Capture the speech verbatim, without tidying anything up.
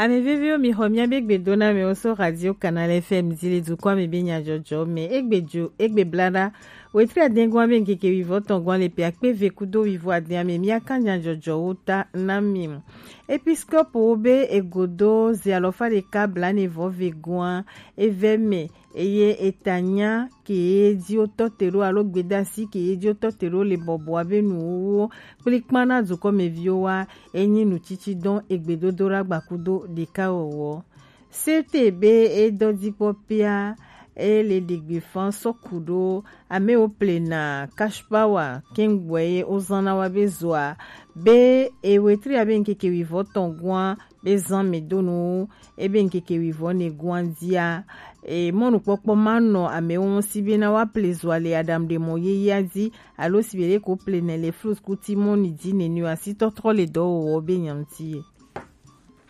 Ame veviwo, mi xɔ miabe gbedoname wo so Radio Canal F M ji le dukɔa me be nyajɔjɔ me. Egbe jo, egbe blada. Wetri adengua be nkeke wivɔ tɔngua le pe akpe ve kudo wivɔ adea me, miaka nyajɔjɔ wo ta na mi. Episkopo wo be egodo ze alɔfa ɖeka blanevɔ ve gua eve me, eye etanya ke ye ji wo tɔ te ɖo alo gbedasi ke ye ji wo tɔ te ɖo le bɔbɔa be nuwuwo kplikpan na dukɔmeviwo wa, enyi nutsitsidɔn egbedodo ɖo agbakudo ɖeka wɔwɔ. Sete be edɔ dikpɔ pia, ele ɖegbe fan sɔ ku ɖo amewo plena cash power kɛngbɔe ye wozan na wa be zoa be ewetri abe nkeke wivɔ tɔn gua be zan me do nu ebe nkeke wivɔ ne gua dia. E, mɔnukpɔkpɔ ma nɔ amewo ŋu si be na wa ple zoa le aɖaŋuɖemɔ yeyea dzi alo si be ɖe ko ple ne le flus kuti mɔni dzi nene o, asi tɔtrɔ le dɔwɔwɔ be nyanti ye.